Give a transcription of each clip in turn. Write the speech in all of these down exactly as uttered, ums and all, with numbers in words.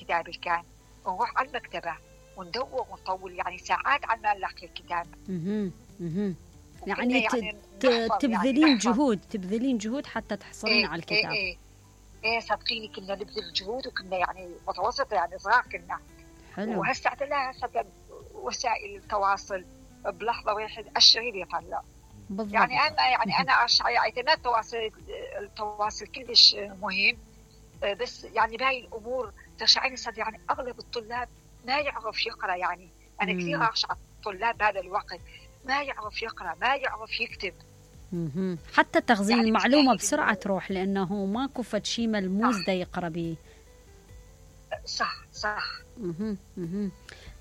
الكتاب اللي كان، ونروح على المكتبة وندور ونطول يعني ساعات على ما نلاقي الكتاب. اها اها يعني, يعني تبذلين يعني جهود تبذلين جهود حتى تحصلين إيه على الكتاب. ايه ايه ايه صدقيني كنا نبذل جهود، وكنا يعني متوسطة يعني صغار كنا. حلو. وهسه لا هسه وسائل التواصل بلحظة واحد الشريط يطلع. بالضبط. يعني أنا يعني أنا اعتماد التواصل التواصل كلش مهم، بس يعني باقي الأمور تشعرني صدق يعني أغلب الطلاب ما يعرف يقرأ. يعني أنا مم. كثير أخشى على الطلاب هذا الوقت، ما يعرف يقرأ ما يعرف يكتب. مم. حتى تخزين يعني المعلومة بسرعة تروح، لأنه ماكو فد شيء ملموس دا يقرأ به. صح صح. مم. مم.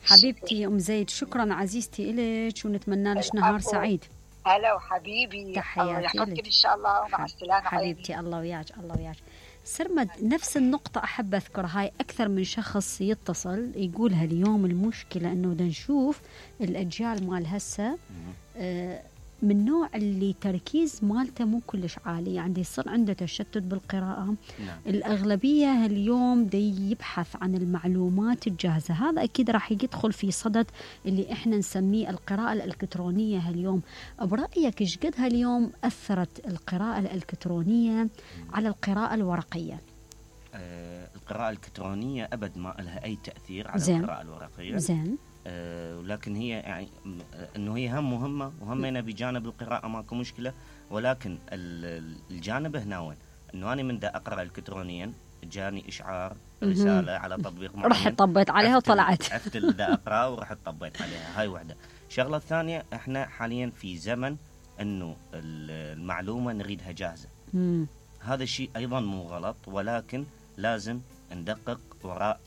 حبيبتي أم زيد، شكرا عزيزتي إليك، ونتمنى لك نهار سعيد. هلا وحبيبي، تحياتي لك إن شاء الله، ومع السلامة حبيبتي. الله وياك الله وياك. سرمد، نفس النقطة أحب أذكر، هاي أكثر من شخص يتصل يقولها اليوم. المشكلة أنه دا نشوف الأجيال مال هسه آه من نوع اللي تركيز مالته مو كلش عالي، يعني يصير عنده تشتت بالقراءة. نعم. الأغلبية اليوم دي يبحث عن المعلومات الجاهزة. هذا أكيد راح يدخل في صدد اللي إحنا نسميه القراءة الإلكترونية اليوم. برأيك إيش قد هاليوم أثرت القراءة الإلكترونية على القراءة الورقية؟ آه القراءة الإلكترونية أبد ما لها أي تأثير على زين. القراءة الورقية. زين. آه ولكن هي يعني انه هي هم مهمه وهمنا بجانب القراءه ماكو مشكله، ولكن الجانب هنا وين انه انا من دا اقرا الكترونيا جاني اشعار رساله على تطبيق معين، رحت طبيت عليها وطلعت عرفت دا اقرا ورحت طبيت عليها. هاي وحده. الشغله الثانيه، احنا حاليا في زمن انه المعلومه نريدها جاهزه. مم. هذا الشيء ايضا مو غلط، ولكن لازم ندقق وراء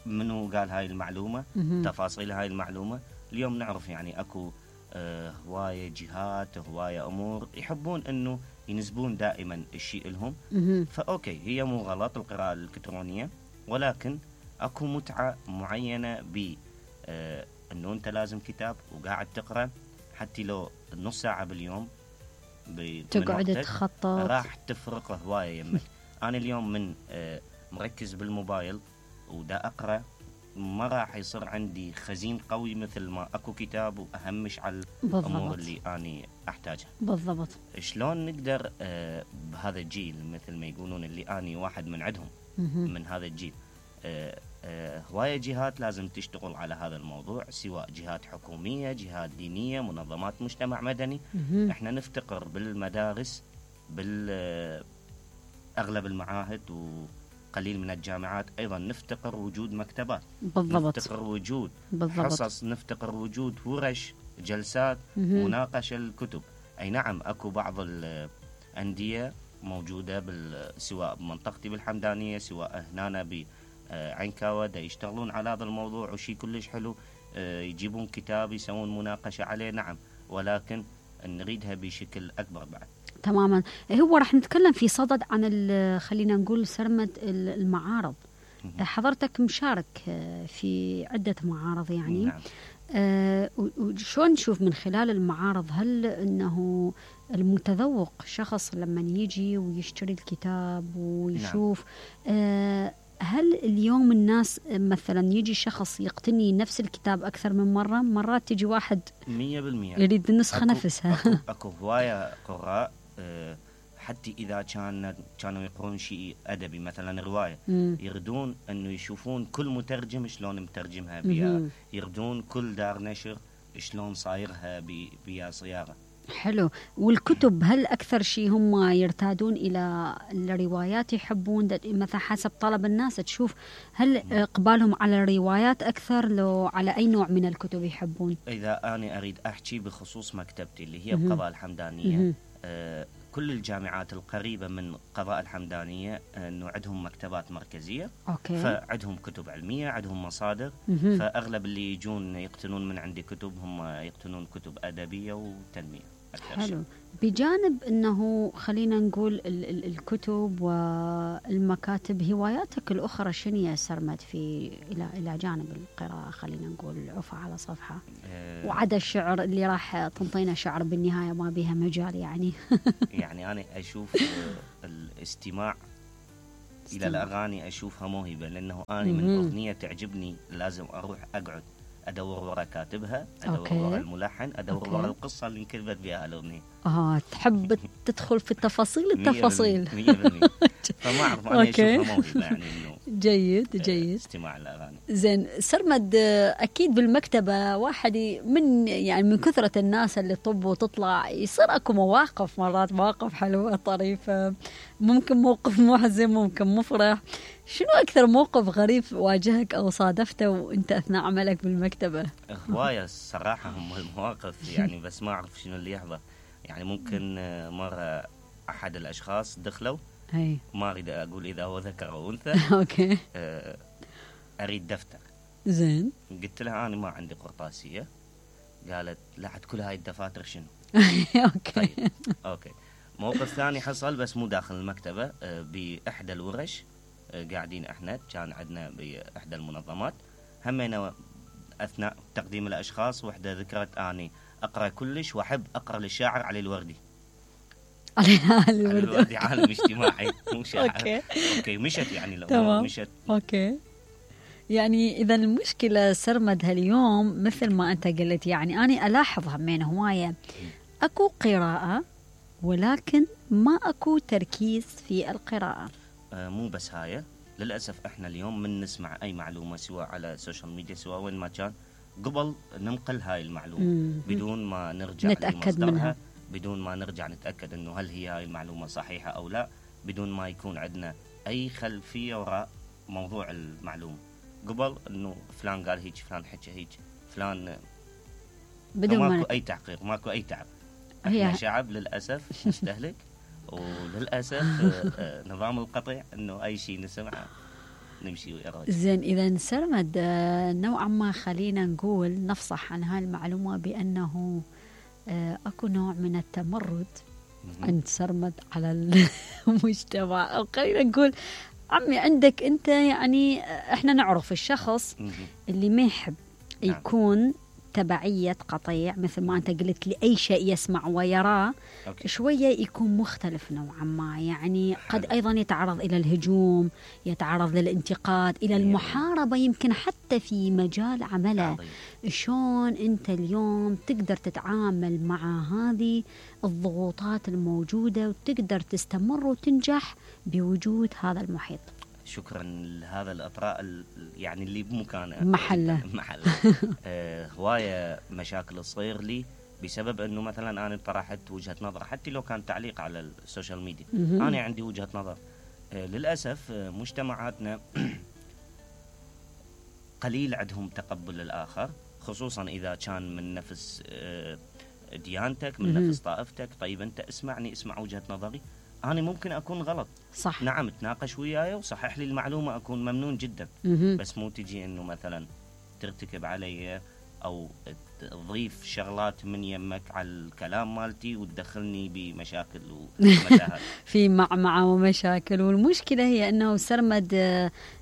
منو قال هاي المعلومة، مم. تفاصيل هاي المعلومة. اليوم نعرف يعني أكو آه هواية جهات هواية أمور يحبون أنه ينسبون دائما الشيء لهم. مم. فأوكي، هي مو غلط القراءة الإلكترونية، ولكن أكو متعة معينة ب آه أنه أنت لازم كتاب وقاعد تقرأ، حتى لو نص ساعة باليوم تقعد تخطط راح تفرق هواية يمك. أنا اليوم من آه مركز بالموبايل ودا أقرأ، ما راح يصير عندي خزين قوي مثل ما أكو كتاب وأهمش على الأمور اللي أنا أحتاجها. بالضبط. شلون نقدر آه بهذا الجيل مثل ما يقولون اللي أنا واحد من عندهم مم. من هذا الجيل، آه آه هواية جهات لازم تشتغل على هذا الموضوع، سواء جهات حكومية، جهات دينية، منظمات مجتمع مدني. مم. احنا نفتقر بالمدارس بالأغلب المعاهد و قليل من الجامعات أيضا نفتقر وجود مكتبات. بالضبط. نفتقر وجود بالضبط. حصص، نفتقر وجود ورش، جلسات، مم. مناقشة الكتب. أي نعم أكو بعض الأندية موجودة سواء بمنطقتي بالحمدانية سواء هنا بعينكاوة دا يشتغلون على هذا الموضوع وشي كلش حلو، يجيبون كتاب يسوون مناقشة عليه. نعم، ولكن نريدها بشكل أكبر بعد. تماما. هو راح نتكلم في صدد عن خلينا نقول سرمد المعارض. حضرتك مشارك في عدة معارض يعني. نعم. أه وشون نشوف من خلال المعارض، هل أنه المتذوق شخص لما يجي ويشتري الكتاب ويشوف نعم. أه هل اليوم الناس مثلا يجي شخص يقتني نفس الكتاب أكثر من مرة؟ مرات تجي واحد مية بالمية يريد النسخة أكو نفسها. أكو, أكو هواية قراء أه حتى إذا كان كانوا يقرون شيء أدبي مثلا رواية، مم. يردون أنه يشوفون كل مترجم شلون مترجمها بيا، يردون كل دار نشر شلون صايرها بيا صياغة. حلو. والكتب هل أكثر شيء هم يرتادون إلى الروايات، يحبون مثلا حسب طلب الناس؟ تشوف هل إقبالهم على الروايات أكثر لو على أي نوع من الكتب يحبون؟ إذا أنا أريد أحكي بخصوص مكتبتي اللي هي بقضاء الحمدانية، آه كل الجامعات القريبة من قضاء الحمدانية أنه عندهم مكتبات مركزية. أوكي. فعندهم كتب علمية، عندهم مصادر. مه. فأغلب اللي يجون يقتنون من عندي كتب هم يقتنون كتب أدبية وتنمية. حلو. بجانب أنه خلينا نقول ال- ال- الكتب والمكاتب، هواياتك الأخرى شنو يا سرمد في إلى إلى جانب القراءة؟ خلينا نقول عفا على صفحة أه وعدا الشعر اللي راح تنطينا شعر بالنهاية ما بيها مجال يعني. يعني أنا أشوف الاستماع الى الاغاني اشوفها موهبه، لانه انا من اغنيه تعجبني لازم اروح اقعد ادور ورا كاتبها، ادور أوكي. ورا الملحن، ادور أوكي. ورا القصه اللي انكتبت بها الاغنيه. اه تحب تدخل في التفاصيل التفاصيل. مية بالمية. فما اعرف انا اشوفها موهبه يعني انه جيد جيد استماع الاغاني. زين سرمد، اكيد بالمكتبه واحد من يعني من كثره الناس اللي طب وتطلع يصير اكو مواقف، مرات مواقف حلوه طريفه، ممكن موقف محزن ممكن مفرح. شنو اكثر موقف غريب واجهك او صادفته وانت اثناء عملك بالمكتبه؟ هوايه الصراحه هم المواقف يعني، بس ما اعرف شنو اللي يحضر. يعني ممكن مره احد الاشخاص دخلوا، هي ما اريد اقول اذا هو ذكر او انثى، اوكي اريد دفتر. زين قلت لها انا ما عندي قرطاسيه. قالت لا عاد كل هاي الدفاتر شنو؟ اوكي طيب اوكي. موقف ثاني حصل بس مو داخل المكتبه، باحدى الورش قاعدين احنا، كان عندنا باحدى المنظمات همينا اثناء تقديم الاشخاص، وحده ذكرت اني اقرا كلش واحب اقرا للشاعر علي الوردي. علي الوردي عالم اجتماعي مو شاعر. اوكي اوكي مشت يعني الامور مشت. اوكي يعني اذا المشكله سرمد هاليوم مثل ما انت قلت، يعني انا الاحظها من هوايه اكو قراءه ولكن ما اكو تركيز في القراءه. آه مو بس هاي، للاسف احنا اليوم من نسمع اي معلومه سواء على السوشيال ميديا سواء وين ما كان، قبل ننقل هاي المعلومه مم. بدون ما نرجع نتاكد منها، بدون ما نرجع نتاكد انه هل هي هاي المعلومه صحيحه او لا، بدون ما يكون عندنا اي خلفيه وراء موضوع المعلومه. قبل انه فلان قال هيك، فلان حكى هيك، فلان بدون ماكو ما اي تحقيق، ماكو اي تعب. هي احنا شعب للاسف مستهلك، وللاسف نظام القطع انه اي شيء نسمعه نمشي ويراجع. زين اذا سرمد نوعا ما خلينا نقول نفصح عن هاي المعلومه بانه اكو نوع من التمرد عند سرمد على المجتمع، او خلينا نقول عمي عندك انت، يعني احنا نعرف الشخص اللي ما يحب يكون تبعية قطيع مثل ما أنت قلت لي أي شيء يسمع ويراه أوكي. شوية يكون مختلف نوعا ما، يعني قد أيضا يتعرض إلى الهجوم، يتعرض للانتقاد، إلى المحاربة، يمكن حتى في مجال عمله. شلون أنت اليوم تقدر تتعامل مع هذه الضغوطات الموجودة وتقدر تستمر وتنجح بوجود هذا المحيط؟ شكرا لهذا الأطراء يعني اللي بمكانه محله محله آه هواية مشاكل تصير لي بسبب أنه مثلا أنا طرحت وجهة نظر، حتى لو كان تعليق على السوشيال ميديا، أنا عندي وجهة نظر. آه للأسف آه مجتمعاتنا قليل عندهم تقبل للآخر، خصوصا إذا كان من نفس آه ديانتك، من نفس طائفتك. طيب أنت اسمعني، اسمع وجهة نظري، أنا ممكن أكون غلط، صح، نعم تناقش وياي وصحح لي المعلومة، أكون ممنون جدا. بس مو تجي إنه مثلا ترتكب علي أو تضيف شغلات من يمك على الكلام مالتي وتدخلني بمشاكل ومتاهات. في معمعة ومشاكل. والمشكلة هي أنه سرمد،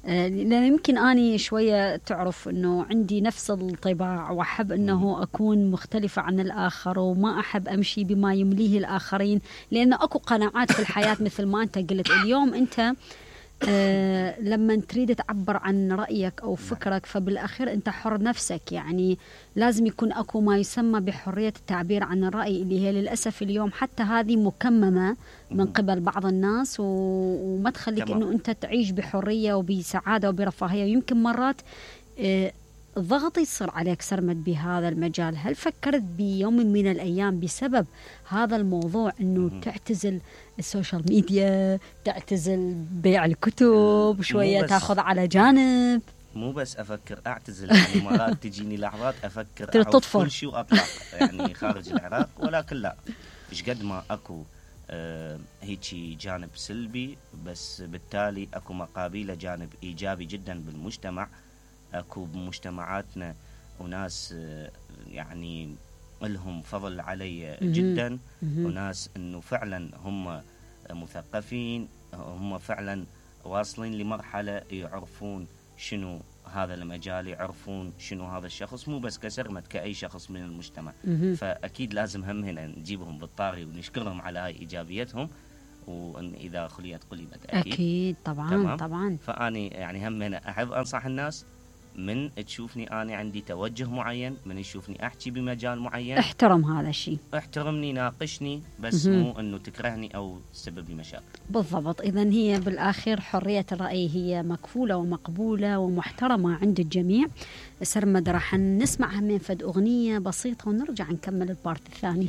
لأن يمكن أني شوية تعرف أنه عندي نفس الطباع وأحب أنه أكون مختلفة عن الآخر، وما أحب أمشي بما يمليه الآخرين، لأن أكو قناعات في الحياة مثل ما أنت قلت. اليوم أنت أه لما تريد تعبر عن رأيك أو فكرك فبالأخير أنت حر نفسك، يعني لازم يكون أكو ما يسمى بحرية التعبير عن الرأي، اللي هي للأسف اليوم حتى هذه مكممة من قبل بعض الناس، وما تخليك أنه أنت تعيش بحرية وبسعادة وبرفاهية. ويمكن مرات أه الضغط يصير عليك سرمد بهذا المجال. هل فكرت بيوم من الأيام بسبب هذا الموضوع أنه تعتزل السوشيال ميديا، تعتزل بيع الكتب، شوية تاخذ على جانب؟ مو بس أفكر أعتزل، يعني مرات تجيني لحظات أفكر أعود كل شيء وأطلع يعني خارج العراق، ولكن لا، إيش قد ما أكو آه هيجي جانب سلبي، بس بالتالي أكو مقابله جانب إيجابي جدا بالمجتمع. أكو بمجتمعاتنا وناس يعني لهم فضل علي جدا، وناس أنه فعلا هم مثقفين، هم فعلا واصلين لمرحلة يعرفون شنو هذا المجال، يعرفون شنو هذا الشخص، مو بس كسرمد كأي شخص من المجتمع. فأكيد لازم هم هنا نجيبهم بالطاري ونشكرهم على هاي إيجابيتهم، وان اذا خليت قلبت اكيد اكيد طبعا تمام؟ طبعا. فاني يعني هم أنا احب انصح الناس من تشوفني انا عندي توجه معين، من يشوفني احكي بمجال معين احترم هذا الشيء، احترمني ناقشني، بس مهم. مو انه تكرهني او تسبب لي مشاكل. بالضبط. إذا هي بالآخر حرية الرأي هي مكفولة ومقبولة ومحترمة عند الجميع. سرمد راح نسمعها من فد أغنية بسيطة ونرجع نكمل البارت الثاني.